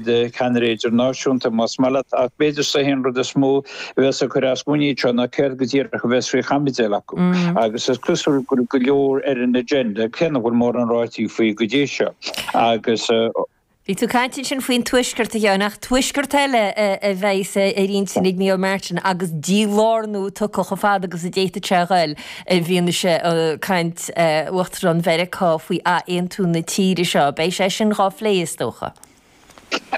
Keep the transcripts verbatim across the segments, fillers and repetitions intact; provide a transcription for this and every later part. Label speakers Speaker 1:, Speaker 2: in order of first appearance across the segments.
Speaker 1: Ceannaire idirnáisiúnta, más maith leat, ach b'fhéidir is é an rud is mó a bheas ag cur as muinín seo ná céard go díreach a bheas faoi chaibidil acu. Agus is cosúil go bhfuil go leor ar an agenda, cé nach bhfuil mórán ráite faoi go dtí seo. Agus.
Speaker 2: Bhí tú ag caint ansin faoin Tuaisceart, a Sheáin, ach Tuaisceart eile a bheas ar intinn ag Micheál Martin agus dílárnú tugtha chomh fada agus a d'fhéadfadh sé a ghoil i bhfianaise caint Uachtarán Mheiriceá faoi athaontú na tíre seo. Beidh sé sin dhá phlé, is dócha.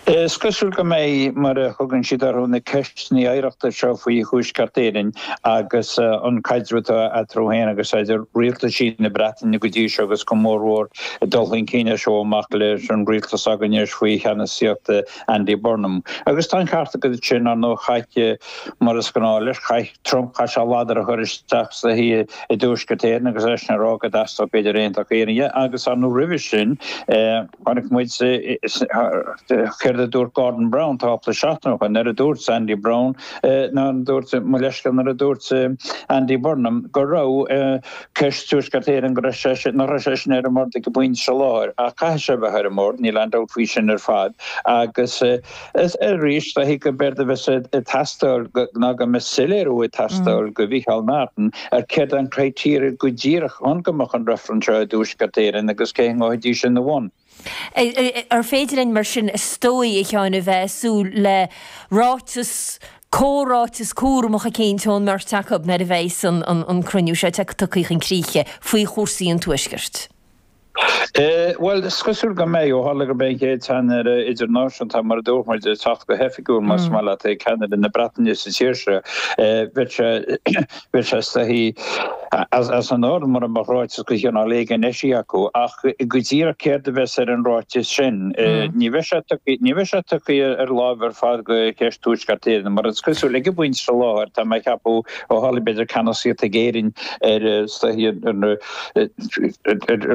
Speaker 1: Is cosúil go mbeidh, mar a thugann siad orthu, na ceisteanna oidhreachta seo faoi Thuaisceart Éireann agus an caidreamh atá eatarthu féin agus idir rialtaisí na Breataine go dtí seo agus go mórmhór dul chun cinn as seo amach leis an rialtas s'againn anois faoi cheannasaíocht Andy Burnham. Agus tá an ceart agat ansin, ar ndóigh, chaith, mar is gnáth leis, chaith Trump, chaith sé ladar a chur isteach sa i dTuaisceart Éireann agus eisean ag rá go dteastódh b'fhéidir aontacht Éireann agus ar ndóigh roimhe sin, Chonaic muid céard a dúirt Gordon Brown tápla seachtain ó shin, nuair a dúirt Andy Brown, nuair a dúirt, mo leithscéal, nuair a dúirt Andy Burnham go raibh ceist Tuaisceart Éireann, go raibh sé sin, nach raibh sé sin ar an mbord ag an bpointe seo láthair, ach caithfidh sé a bheith ar an mbord, níl aon dabht faoi sin ar fad. Agus arís, dóichí gurb éard a bheas ag teastáil ná go mbeidh soiléiriú ag teastáil go Mhicheál Martin ar céard é an criteria go díreach chun go mbeadh an reifreann seo i dTuaisceart Éireann agus cé a ngabhfaidís ina bhun.
Speaker 2: Ar féidir linn mar sin, is dóigh, a Sheáin, a bheith ag súil le ráiteas, comhráiteas cúramach eicínt ón mbeirt acu nuair a bheas an cruinniú seo tugtha chun críche faoi chúrsaí an Tuaiscirt?
Speaker 1: Bhuel, is cosúil go mbeidh, ó tharla gurb é an chéad cheannaire idirnáisiúnta, mar a dúirt muid, ag teacht go hoifigiúil, más maith leat, é ceannaire na Breataine sa tír seo. Bheadh sé, bheadh sé is dóichí, as an ord mura mbeadh ráiteas de chineál éigin eisithe acu. Ach go díreach céard a bheas ar an ráiteas sin? Ní bheidh sé tugtha, ní bheidh sé tugtha ar láimh ar fad go ceist Tuaisceart Éireann, mar is cosúil, ag an bpointe seo láthair, tá mé ag ceapadh, ó tharla b'fhéidir ceannasaíocht ag Éirinn ar, is dóichí, ar,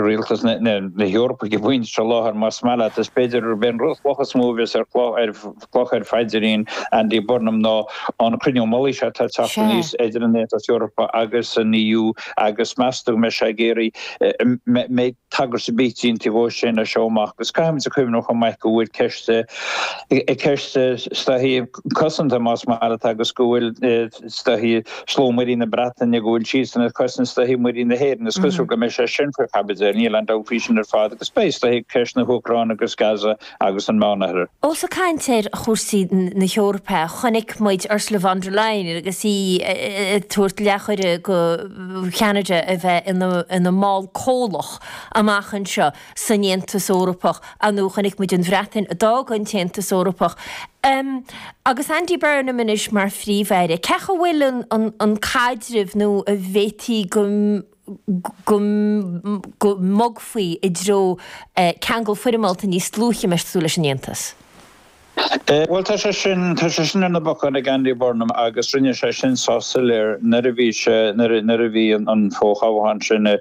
Speaker 1: Rialtas na hEorpa ag an bpointe seo láthair, más maith leat. Is b'fhéidir gurb é an chloch is mó a bheas ar chloch ar phaidrín Andy Burnham ná an cruinniú mullaigh seo atá ag teacht aníos idir an Aontas Eorpach agus an E U agus meas tú go mbeidh sé ag iarraidh mbeidh tagairt ar bith déanta dhó sin as seo amach. Agus caithfimid a chuimhneamh chomh maith go bhfuil ceist ceist is dóichí cosanta más maith leat agus go bhfuil is dóichí slógh muirí na Breataine, go bhfuil siadsan ag cosaint is dóichí muirí na hÉireann. Is cosúil go mbeidh sé sin faoi chaibidil, níl aon dabht faoi sin ar fad, agus beidh is dóichí ceist na hÚcráine agus Gaza agus an Meánoirthear.
Speaker 2: Ós ag caint ar chúrsaí na hEorpa, chonaic muid Ursula von der Leyen agus í ag tabhairt leathchuireadh go Cheanada a bheith ina mball comhlach amach anseo san Aontas Eorpach. Ar ndóigh chonaic muid an Bhreatain a d'fhág an tAontas Eorpach. Agus Andy Burnham anois mar Phríomh-Aire, cén chaoi a bhfuil an caidreamh nó an bhféadfaí go go go mbogfaí i dtreo ceangal foirmeálta níos dlúithe, meas tú, leis an Aontas?
Speaker 1: Bhuel, tá sé sin, tá sé sin ar na bacáin ag Andy Burnham agus rinne sé sin sách soiléir nuair a bhí sé, nuair a, nuair a bhí an fo-thoghchán sin i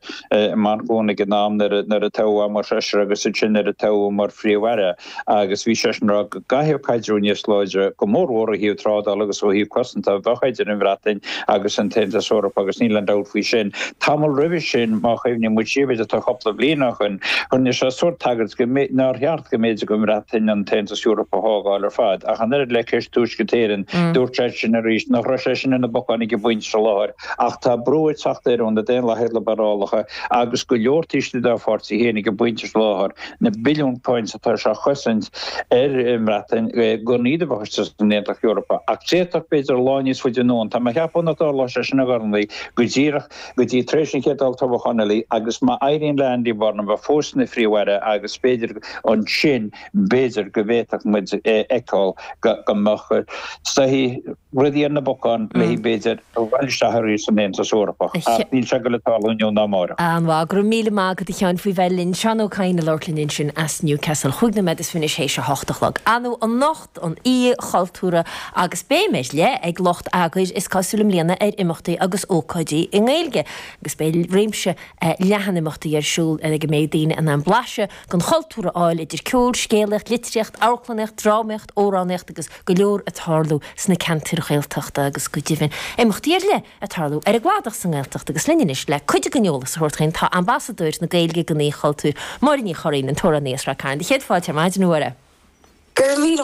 Speaker 1: Manchain ag an am nuair a, nuair a toghadh é mar threisire agus ansin nuair a toghadh mar Phríomh-Aire agus bhí seisean ag rá go gcaithfeadh caidreamh níos láidre, go mórmhór ó thaobh trádála agus ó thaobh cosanta, a bheith idir an Bhreatain agus an tAontas Eorpach agus níl aon dabht faoi sin. Tamall roimhe sin, má chuimhníonn muid siar, b'fhéidir tá cúpla bliain ó shin, rinne sé sórt tagairt go, nár cheart go mb'fhéidir don Bhreatain an tAontas Eorpach a fhágáil ar fad. Ach an oiread le ceist Tuaisceart Éireann, dúirt sé sin arís nach raibh sé sin ar na bacáin ag an bpointe seo láthair. Ach tá brú ag teacht air ó na Daonlathaithe Liobrálacha agus go leor taobh istigh dá pháirtí féin ag an bpointe seo láthair, na billiúin punt atá sé a chosaint ar an mBreatain gan iad a bheith istigh san Aontas Eorpach. Ach d'fhéadfadh, b'fhéidir, lá níos faide anonn, tá mé ag ceapadh nach dtarlóidh sé sin a Ghormlaí go díreach go dtí tar éis an chéad olltoghchán eile agus má éiríonn le Andy Burnham bheith fós ina Phríomh-Aire agus b'fhéidir ansin b'fhéidir go bhféadfadh muid a fheiceáil go mbeadh is dóichí rudaí ar na bacáin léi b'fhéidir a dhul isteach arís san Aontas Eorpach ach níl sé ag dul ag tarlú inniu ná amárach.
Speaker 2: An-mhaith. Go raibh míle maith agat a Sheáin faoi bheith linn. Seán Ó Cadhain ag labhairt linn ansin as Newcastle. Chúig nóiméad is fiche théis a hocht a chlog. Ar ndóigh anocht an Oíche Chultúrtha agus béim ar leith ag lucht eagair is cosúil i mbliana ar imeachtaí agus ócáidí i nGaeilge agus beidh réimse leathan imeachtaí ar siúl ag a mbeidh daoine in ann blaiseadh den chultúr a fháil idir ceol, scéalaíocht, litríocht, amharclannaíocht, drámaíocht, amhránaíocht agus go leor ag tarlú sna ceantair Ghaeltachta agus go deimhin imeachtaí ar leith ag tarlú ar an gcladach sa nGaeltacht agus linn anois le cuid den eolas a thabhairt dhúinn tá Ambasadóir na Gaeilge don Oíche Chultúir, Máire Ní Churraoin, an t-amhránaí as Ráth Cairn. Céad fáilte ar maidin, a Mháire.
Speaker 3: Gur mí